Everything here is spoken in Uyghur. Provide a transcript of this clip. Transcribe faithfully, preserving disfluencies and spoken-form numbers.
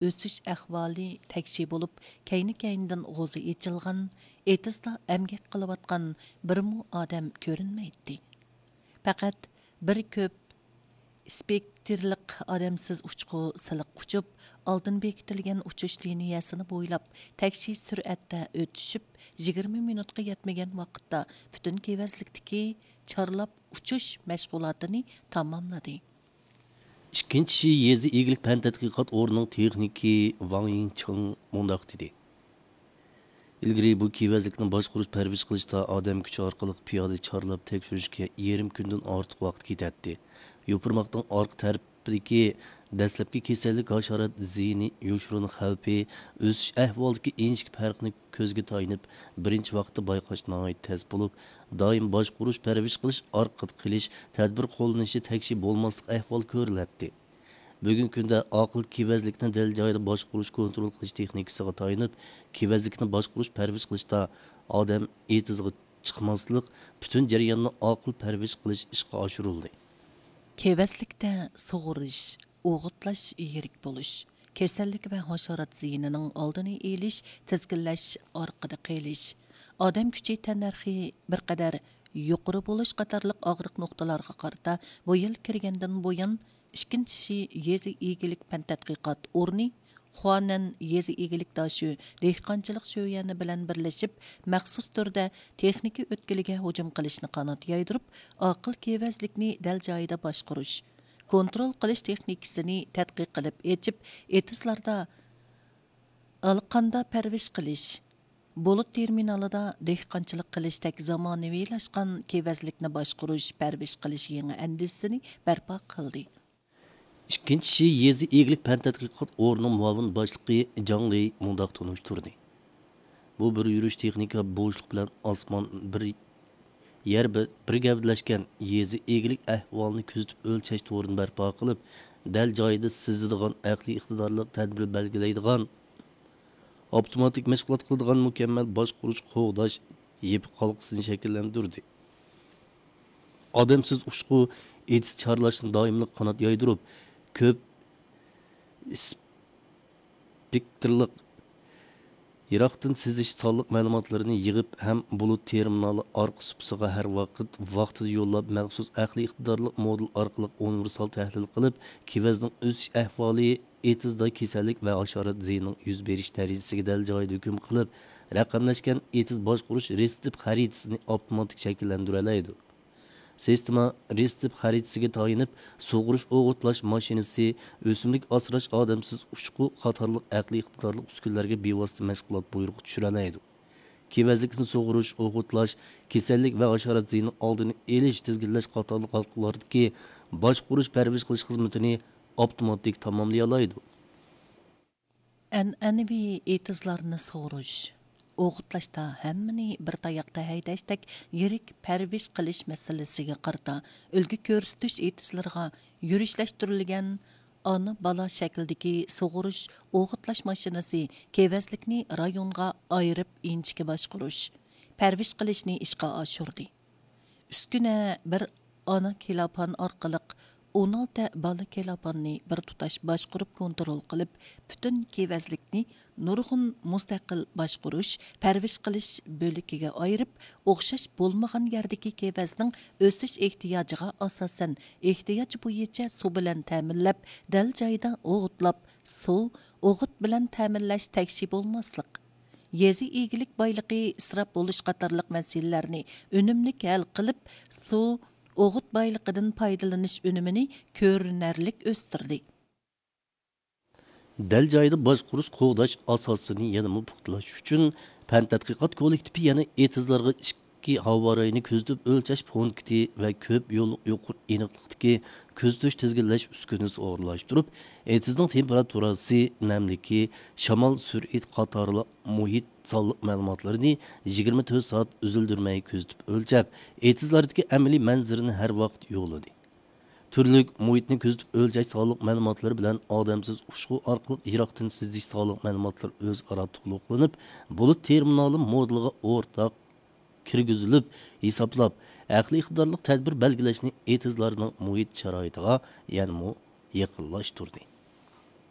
ئۆسۈش ئەھۋالى تەكشى بولۇپ، كەينى-كەينىدىن غوزى ئېچىلغان، ئېتىزدا ئەمگەك قىلىۋاتقان بىرمۇ ئادەم كۆرۈنمەيتتى. پەقەت بىر كۆپ ئىسپېكتىرلىق ئادەمسىز ئۇچقۇ سىلىق ئۇچۇپ، ئالدىن بېكىتىلگەن ئۇچۇش لىنىيەسىنى بويلاپ تەكشى سۈرئەتتە ئۆتۈشۈپ، يىگىرمە مىنۇتقا يەتمىگەن ۋاقىتتا پۈتۈن كېۋەزلىكتىكى چارلاپ ئۇچۇش مەشغۇلاتىنى تاماملىدى. ئىككىنچى شى يېزا ئىگىلىك پەن تەتقىقات ئورنىنىڭ تېخنىكى ۋاڭ يىڭچىڭ مۇنداق دېدى: ئىلگىرى بۇ كېۋەزلىكنى باشقۇرۇش، پەرۋىش قىلىشتا ئادەم كۈچى ئارقىلىق پىيادە چارلاپ تەكشۈرۈشكە يېرىم كۈندىن ئارتۇق ۋاقىت كېتەتتى. يوپۇرماقنىڭ ئارقا تەرىپىدىكى دەسلەپكى كېسەللىك، ھاشارات زىيىنى، يوشۇرۇن خەۋپى، ئۆسۈش ئەھۋالىدىكى ئىنچىكە پەرقنى كۆزگە تايىنىپ، بىرىنچى ۋاقىتتا بايقاش ناھايىتى تەس بولۇپ، دائىم باشقۇرۇش، پەرۋىش قىلىش، ئارقىدا قېلىش، تەدبىر قوللىنىشى تەكشى بولماسلىق ئەھۋالى كۆرۈلەتتى. بۈگۈنكى كۈندە ئاقىل كېۋەزلىكنى دەل جايىدا باشقۇرۇش، كونترول قىلىش تېخنىكىسىغا تايىنىپ، كېۋەزلىكنى باشقۇرۇش، پەرۋىش قىلىشتا ئادەم ئېتىزغا چىقماسلىق، پۈتۈن جەرياننى ئاقىل پەرۋىش قىلىش ئىشقا ئاشۇرۇلدى. كېۋەزلىكتە سۇغۇرۇش، ئوغۇتلاش يىرىك بولۇش، كېسەللىك ۋە ھاشارات زىيىنىنىڭ ئالدىنى ئېلىش، تىزگىنلەش، ئارقىدا قېلىش، ئادەم كۈچى تەننەرخى بىر قەدەر يۇقىرى بولۇش قاتارلىق ئاغرىق نۇقتىلارغا قارىتا بۇ يىل كىرگەندىن بۇيان، ئىككىنچى شى يېزا ئىگىلىك پەن تەتقىقات ئورنى، خۇانەن يېزا ئىگىلىك داشۆ دېھقانچىلىق شۆيۈەنى بىلەن بىرلىشىپ، مەخسۇس تۈردە تېخنىكا ئۆتكىلىگە ھۇجۇم قىلىشنى قانات يايدۇرۇپ، ئاقىل كېۋەزلىكنى دەل جايىدا باشقۇرۇش، كونترول قىلىش تېخنىكىسىنى تەتقىق قىلىپ ئېچىپ، ئېتىزلاردا ئالىقاندا پەرۋىش قىلىش، بۇلۇت تېرمىنالىدا دېھقانچىلىق قىلىشتەك زامانىۋىلاشقان كېۋەزلىكنى باشقۇرۇش، پەرۋىش قىلىش يېڭى ئەندىزىسىنى بەرپا قىلدى. ئىككىنچى شى يېزا ئىگىلىك پەن تەتقىقات ئورنىنىڭ مۇئاۋىن باشلىقى جاڭ لېي مۇنداق تونۇشتۇردى: بۇ بىر يۈرۈش تېخنىكا بوشلۇق بىلەن ئاسمان بىر يەر بىر، بىر گەۋدىلەشكەن يېزا ئىگىلىك ئەھۋالىنى كۆزىتىپ ئۆلچەش تورىنى بەرپا قىلىپ، دەل جايىدا سىزىدىغان، ئەقلىي ئىقتىدارلىق تەدبىر بەلگىلەيدىغان، ئاپتوماتىك مەشغۇلات قىلىدىغان مۇكەممەل باشقۇرۇش، قوغداش يېپىق ھالقىسىنى شەكىللەندۈردى. ئادەمسىز ئۇچقۇ ئېتىز چارلاشنى دائىملىق قانات يايدۇرۇپ، كۆپ ئىسپېكتىرلىق يىراقتىن سىزىش سانلىق مەلۇماتلىرىنى يىغىپ ھەم بۇلۇت تېرمىنالى ئارقا سۇپىسىغا ھەر ۋاقىت ۋاقتىدا يوللاپ، مەخسۇس ئەقلىي ئىقتىدارلىق مودېل ئارقىلىق ئۇنىۋېرسال تەھلىل قىلىپ، كېۋەزنىڭ ئۆسۈش ئەھۋالى، ئېتىزدا كېسەللىك ۋە ھاشارات زىيىنىنىڭ يۈز بېرىش دەرىجىسىگە دەل جايىدا ھۆكۈم قىلىپ، رەقەملەشكەن ئېتىز باشقۇرۇش رېتسېپ خەرىتىسىنى ئاپتوماتىك شەكىللەندۈرەلەيدۇ. سىستېما رېتسېپ خەرىتىسىگە تايىنىپ، سۇغۇرۇش، ئوغۇتلاش ماشىنىسى، ئۆسۈملۈك ئاسراش، ئادەمسىز ئۇچقۇ قاتارلىق ئەقلىي ئىقتىدارلىق ئۈسكۈنىلەرگە بىۋاسىتە مەشغۇلات بۇيرۇقى چۈشۈرەلەيدۇ. كېۋەزلىكنى سۇغۇرۇش، ئوغۇتلاش، كېسەللىك ۋە ھاشارات زىيىنىنى ئالدىنى ئېلىش، تىزگىنلەش قاتارلىق ھالقىلاردىكى باشقۇرۇش، پەرۋىش قىلىش خىزمىتىنى ئاپتوماتىك تاماملىيالايدۇ. ئەنئەنىۋى ئېتىزلارنى سۇغۇرۇش، ئوغۇتلاشتا ھەممىنى بىر تاياقتا ھەيدەشتەك يىرىك پەرۋىش قىلىش مەسىلىسىگە قارىتا، ئۈلگە كۆرسىتىش ئېتىزلىرىغا يۈرۈشلەشتۈرۈلگەن ئانا-بالا شەكلىدىكى سۇغۇرۇش، ئوغۇتلاش ماشىنىسى كېۋەزلىكنى رايونغا ئايرىپ ئىنچىكە باشقۇرۇش، پەرۋىش قىلىشنى ئىشقا ئاشۇردى. ئۈسكۈنە بىر ئانا كېلاپان ئارقىلىق ئون ئالتە بالا كېلاپاننى بىر تۇتاش باشقۇرۇپ كونترول قىلىپ، پۈتۈن كېۋەزلىكنى نۇرغۇن مۇستەقىل باشقۇرۇش، پەرۋىش قىلىش بۆلىكىگە ئايرىپ، ئوخشاش بولمىغان يەردىكى كېۋەزنىڭ ئۆسۈش ئېھتىياجىغا ئاساسەن، ئېھتىياج بويىچە سۇ بىلەن تەمىنلەپ، دەل جايىدا ئوغۇتلاپ، سۇ، ئوغۇت بىلەن تەمىنلەش تەكشى بولماسلىق، يېزا ئىگىلىك بايلىقى ئىسراپ بولۇش قاتارلىق مەسىلىلەرنى ئۈنۈملۈك ھەل قىلىپ، سۇ، ئوغۇت بايلىقىدىن پايدىلىنىش ئۈنۈمىنى كۆرۈنەرلىك ئۆستۈردى. دەل جايىدا باشقۇرۇش، قوغداش ئاساسىنى يەنىمۇ پۇختىلاش ئۈچۈن، پەن تەتقىقات كوللېكتىپى يەنە ئېتىزلارغا ئىككى ھاۋا رايىنى كۆزىتىپ ئۆلچەش پونكىتى ۋە كۆپ يوللۇق يۇقىرى ئېنىقلىقتىكى كۆزىتىش، تىزگىنلەش ئۈسكۈنىسى ئورۇنلاشتۇرۇپ، ئېتىزنىڭ تېمپېراتۇرىسى، نەملىكى، شامال سۈرئىتى قاتارلىق مۇھىت سانلىق مەلۇماتلىرىنى يىگىرمە تۆت سائەت ئۈزۈلدۈرمەي كۆزىتىپ ئۆلچەپ، ئېتىزلاردىكى ئەمەلىي مەنزىرىنى ھەر ۋاقىت يوللىدى. تۈرلۈك مۇھىتنى كۆزىتىپ ئۆلچەش سانلىق مەلۇماتلىرى بىلەن ئادەمسىز ئۇچقۇ ئارقىلىق يىراقتىن سىزىش سانلىق مەلۇماتلىرى ئۆزئارا تولۇقلىنىپ، بۇلۇت تېرمىنالى مودېلىغا ئورتاق كىرگۈزۈلۈپ، ھېسابلاپ، ئەقلىي ئىقتىدارلىق تەدبىر بەلگىلەشنى ئېتىزلارنىڭ مۇھىت شارائىتىغا يەنىمۇ يېقىنلاشتۇردى.